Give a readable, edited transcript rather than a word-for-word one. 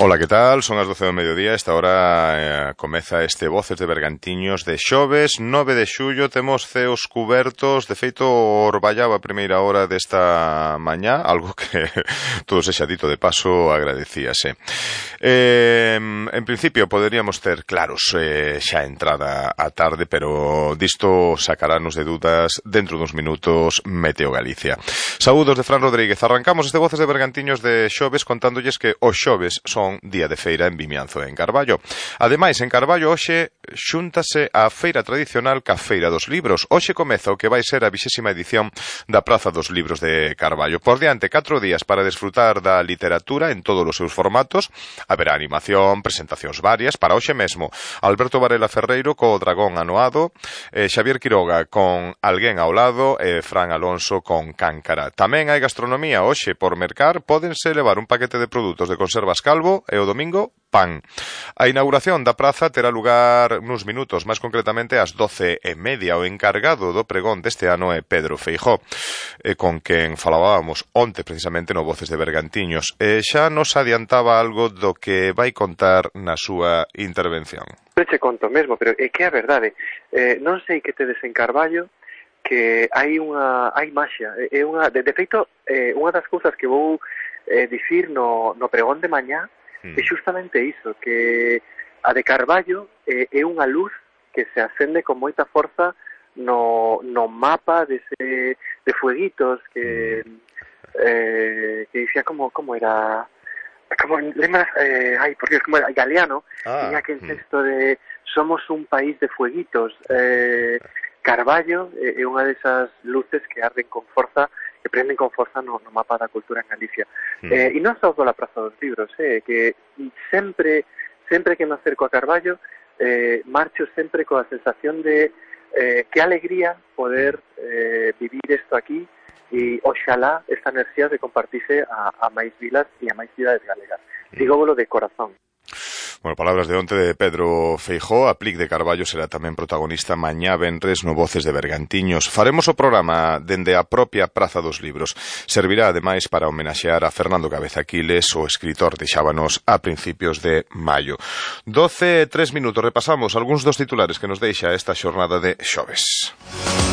Ola, que tal? Son as 12 do mediodía. Esta hora comeza este Voces de Bergantiños de xoves 9 de xullo. Temos ceos cubertos. De feito, orballaba a primeira hora desta mañá, algo que todo sexa dito de paso agradecíase. En principio poderíamos ter claros xa entrada a tarde, pero disto sacarános de dudas dentro duns minutos Meteo Galicia. Saúdos de Fran Rodríguez. Arrancamos este Voces de Bergantiños de xoves contándolles que os xoves son día de feira en Vimianzo e en Carballo. Ademais, en Carballo hoxe xúntase a feira tradicional ca Feira dos Libros. Hoxe comeza o que vai ser a 20ª edición da Praza dos Libros de Carballo. Por diante, 4 días para desfrutar da literatura en todos os seus formatos. Haberá animación, presentacións varias. Para hoxe mesmo, Alberto Varela Ferreiro co Dragón Anoado, Xavier Quiroga con Alguén ao lado e Fran Alonso con Cáncara. Tamén hai gastronomía hoxe por mercar. Pódense levar un paquete de produtos de conservas Calvo e o domingo pan. A inauguración da praza terá lugar nuns minutos, máis concretamente ás 12:30. O encargado do pregón deste ano é Pedro Feijóo, con quen falábamos onte precisamente no Voces de Bergantiños. Xa nos adiantaba algo do que vai contar na súa intervención. Non che conto mesmo, pero é que é a verdade. Non sei que tedes en Carballo que hai maxia. De feito, unha das cousas que vou dicir no pregón de mañá é justamente iso, que a de Carballo é unha luz que se acende con moita forza no mapa de fueguitos que dicía como era, como lembras, por Dios, como era Galeano, tiña aquel texto de somos un país de fueguitos. Carballo é unha desas luces que arden con forza, que prenden con forza no mapa da cultura en Galicia. E non só pola Praza dos Libros, que sempre que me acerco a Carballo, marcho sempre coa sensación de que alegría poder vivir isto aquí, e oxalá esta enerxía de compartirse a máis vilas e a máis cidades galegas. Digóvolo de corazón. Bueno, palabras de onte de Pedro Feijóo. A Plic de Carballo será tamén protagonista mañá venres no Voces de Bergantiños. Faremos o programa dende a propia Praza dos Libros. Servirá ademais para homenaxear a Fernando Cabeza Aquiles, o escritor de Xábanos a principios de maio. 12:03 minutos. Repasamos algúns dos titulares que nos deixa esta xornada de xoves.